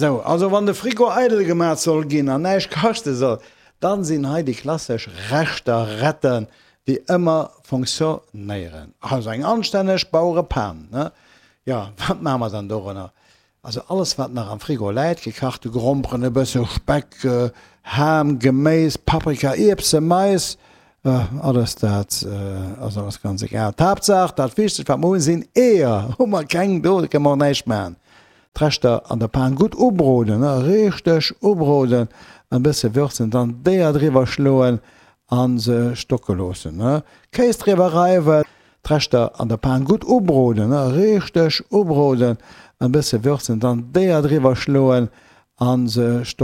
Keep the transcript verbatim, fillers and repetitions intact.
Sou, also wann de Frigo eidel gemaat soll ginn an näischt kaschte soll, dann sinn hei déi klassesch Reschter retten, déi ëmmer fonctionnéieren. Also eng anstänneg Bauerepan, ne? Jo, wat maache mer dann dorënner? Also alles wat nach am Frigo läit, gekachte Gromperen, e bësse Speck, Ham, Geméis, Paprika, Ierbse, Mais, alles dat ass alles ganz egal. D'Haaptsaach, dat Wichtegst wat mer hunn, sinn Eeër. Hu mer keng do, da kënne mer och näischt maachen. D'Reschter an der Pan gutt ubroden, richteg ubroden, e bësse würzen, dann d'Eeër driwwer schloen a se stocke loossen. Kéis driwwer reiwen. D'Reschter an der Pan gutt ubroden, richteg ubroden, e bësse würzen, dann d'Eeër driwwer schloen a se stocke.